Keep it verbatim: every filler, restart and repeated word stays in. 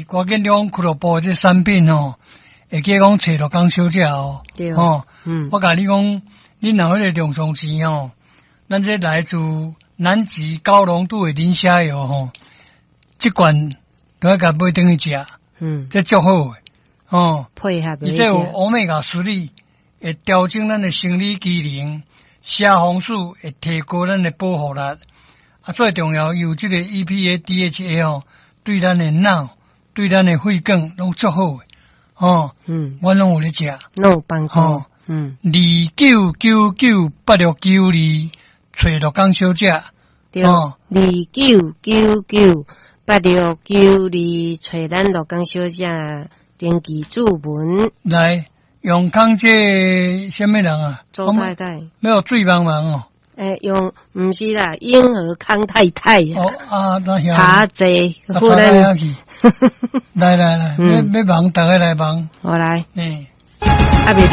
趕緊講俱樂部這產品吼，會記講揣陸江小姐哦。對。吼，嗯，我共你講，你若彼個平常時吼，咱這來自南極高濃度的磷蝦油吼，這罐都愛共買轉去食，嗯，這足好的，吼。配合伊這有 Omega three，會調整咱的生理機能，蝦紅素會提高咱的保護力，啊，最重要有這個 E P A、D H A 吼，對咱的腦、對咱的血管攏足好的，吼。嗯，阮攏有咧食。攏有幫助。吼。嗯，二九九九八六九二，揣陸江小姐。對，哦二九九九八六九二，揣咱陸江小姐登記注文。來，永康這啥物人啊？周太太。沒有水茫茫哦。欸，用毋是啦，永和康太太啊。哦啊，那遐茶濟，啊，茶到遐去。來來來，嗯欲欲忙，逐家來忙。我來，嗯。啊，袂。